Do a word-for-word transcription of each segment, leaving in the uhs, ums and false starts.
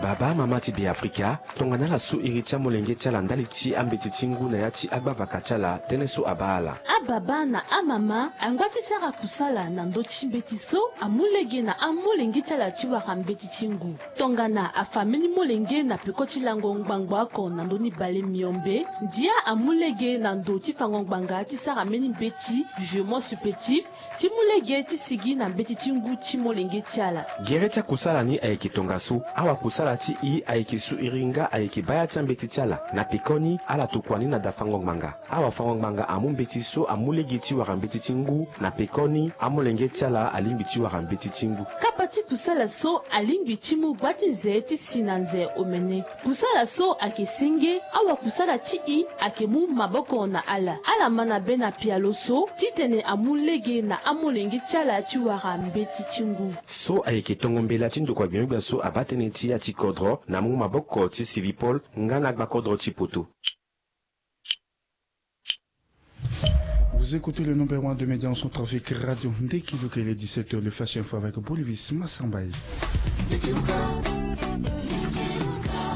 Babâ, mamâ ti Beafrika, tongana ala su iri ti amolenge ti ala ndali ti ambeti ti ngu na ya ti agbavaka ti ala, tënë so abâ ala. Ababâ na amamâ angba ti sara kusala na ndö ti mbeti so amu lege na amolenge ti ala ti wara mbeti ti ngu. Tongana afa mbeni molenge na peko ti lango ngbangbo oko na ndö ni bale miombe, ndia amu lege na ndo ti fango ngbanga ti sara mbeni mbeti, jugement supplétif, ti mu lege ti sigi na mbeti ti ngu ti molenge ti ala. Gere ti akusala ni ayeke tongaso. Awakusala ti e ayeke su iri nga ayeke baya ti ambeti ti ala. Na pekoni, ala tokua ni na da fango ngbanga. Awafango ngbanga amu mbeti so amu lege ti wara mbeti ti ngu. Na pekoni, amolenge ti ala alingbi ti wara mbeti ti ngu. Kapa ti kusala so alingbi ti mu gba ti nze ti si na nze omene. Kusala so ayeke senge, awakusala ti e ayeke mu maboko na ala. Ala ma na be na pialo so titene amu lege na amolenge ti ala ti wara mbeti ti ngu. So ayeke tongo mbela ti ndokua gbia-gbia so abaa tënë ti ya ti kodro na mu maboko ti Sylvie Paul nga na agba kodro ti poto. Vous écoutez le numéro un de médias en centrafrique, Radio Ndeki Luka. Il est dix-sept heures, le flash info avec Bolivis Massambaye.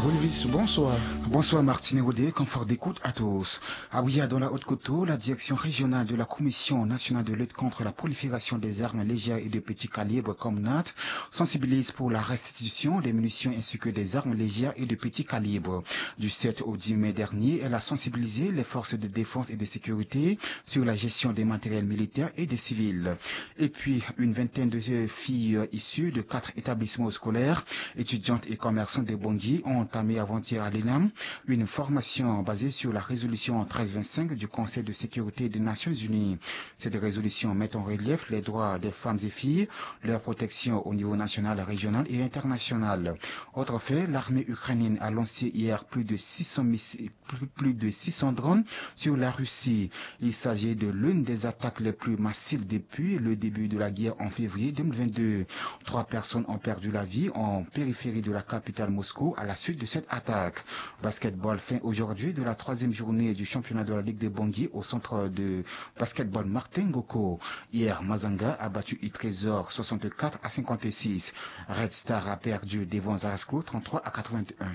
Bolivis, bonsoir. Bonsoir Martine Rodé, confort d'écoute à tous. Ah oui, dans la Haute-Kotto, la direction régionale de la Commission nationale de lutte contre la prolifération des armes légères et de petits calibres, COMNAT, sensibilise pour la restitution des munitions ainsi que des armes légères et de petits calibres. Du sept au dix mai dernier, elle a sensibilisé les forces de défense et de sécurité sur la gestion des matériels militaires et des civils. Et puis, une vingtaine de filles issues de quatre établissements scolaires, étudiantes et commerçantes de Bangui, ont entamé avant-hier à l'ENAM une formation basée sur la résolution treize vingt-cinq du Conseil de sécurité des Nations Unies. Cette résolution met en relief les droits des femmes et filles, leur protection au niveau national, régional et international. Autre fait, l'armée ukrainienne a lancé hier plus de six cents missiles, plus, plus de six cents drones sur la Russie. Il s'agit de l'une des attaques les plus massives depuis le début de la guerre en février deux mille vingt-deux. Trois personnes ont perdu la vie en périphérie de la capitale Moscou à la suite de cette attaque. Basketball, fin aujourd'hui de la troisième journée du championnat de la Ligue de Bangui au centre de basketball Martin Ngoko. Hier, Mazanga a battu Itrésor soixante-quatre à cinquante-six. Red Star a perdu devant Zarasco trente-trois à quatre-vingt-un.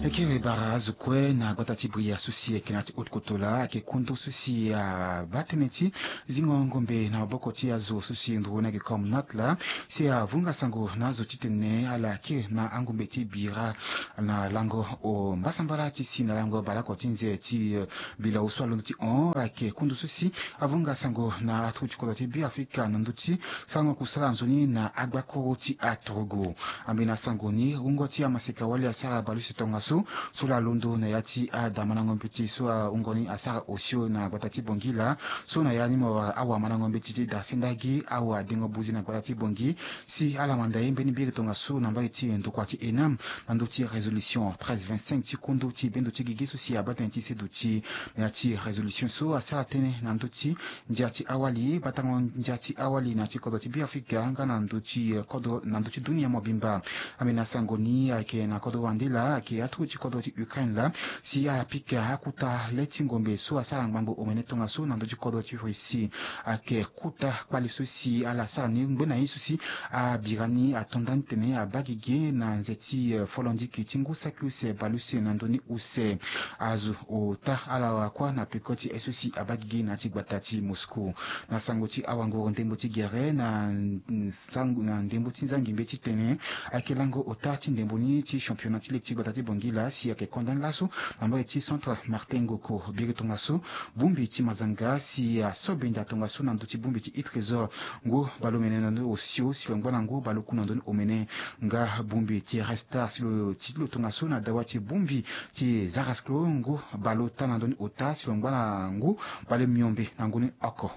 E kiri bara azo kue na gbata ti Bria so si e yeke na ya ti Haute-Kotto laa, ayeke kundu so si abaa tënë ti zingo ngombe na maboko ti azo so si nduru ni ayeke COMNAT laa, si avunga sango na azo titene ala kiri na angombe ti bira na lango o mbasambala ti si na lango baleoko ti nze ti, eh, bilao so alondo ti hon. Ayeke kundu so si avunga sango na aturuku ti kodro ti Beafrika na ndö ti sarango kusala nzoni na agbakuru ti aturugu. Ambeni asango ni, wungo ti amaseka wali asara baleuse tongaso, so laa alondo na ya ti adamandango mbeti so ahungo ni asara osio na gbata ti Bangui laa, so na ya ni mo wara awamandango mbeti ti da sendagi awadengo buzi na gbata ti Bangui, si ala manda ye mbeni biri tongaso na mbage ti ndokua ti ENAM na ndö ti résolution treize vingt-cinq ti kundu ti bendo ti gigi so si abaa tënë ti seduti na ya ti résolution so asara tënë na ndö ti ndia ti awali, batango ndia ti awali na ya ti kodro ti Beafrika nga na ndö ti, eh, kodro na ndö ti dunia mobimba. Ambeni asango ni ayeke na kodro wande laa, ayeke aturuku ti kodro ti Ukraine laa, si ala pika akuta le ti ngombe so asara ngbangbo omene tongaso na ndö ti kodro ti Russie. Ayeke kuta kpale so si ala sara ni ngbene ye so si abira ni ato nda ni tene abaa gigi na nze ti, eh, folondiki ti ngu saki use baleuse na ndö ni use. Azo ota ala wara kuâ na peko ti ye so si abaa gigi na ya ti gbata ti Moscou. Na sango ti awanguru ndembo ti gere na, mm, sango na ndembo ti nzangi mbeti titene ayeke lango ota ti ndembo ni ti championnat ti ligue ti gbata ti Bangui laa, si ayeke konda ni laso na mbage ti centre Martin Ngoko. Biri tongaso, bongbi ti Mazanga si aso benda tongaso na ndö ti bongbi ti Itrésor, ngu baleomene na ndö ni osio si lo ngba na ngu baleoku na ndö ni omene. Nga bongbi ti Red Star si lo ti ti lo tongaso na dawa ti bongbi ti Zarasco, ngu baleota na ndö ni ota si lo ngba na ngu baleomiombe na ngu ni oko.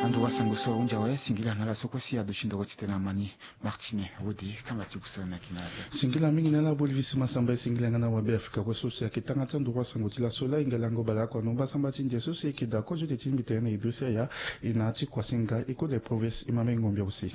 Anduru asango so ahunzi awe, singila na ala so kue si aduti ndoro titene ama ni. Martine Wode, kanga ti kusala na yeke na ala. Singila mingi na ala Bolivis Masamba, e singila nga na wabeafrika kue so si ayeke tanga ti anduru asango ti laso laa. E hinga lango baleoko na mbasambala ti ndia so si e yeke daa kozo ti mbi tene na Idrissa Yaya, e na ya ti Koissinga, e kode province, e ma mbeni ngombe aussi.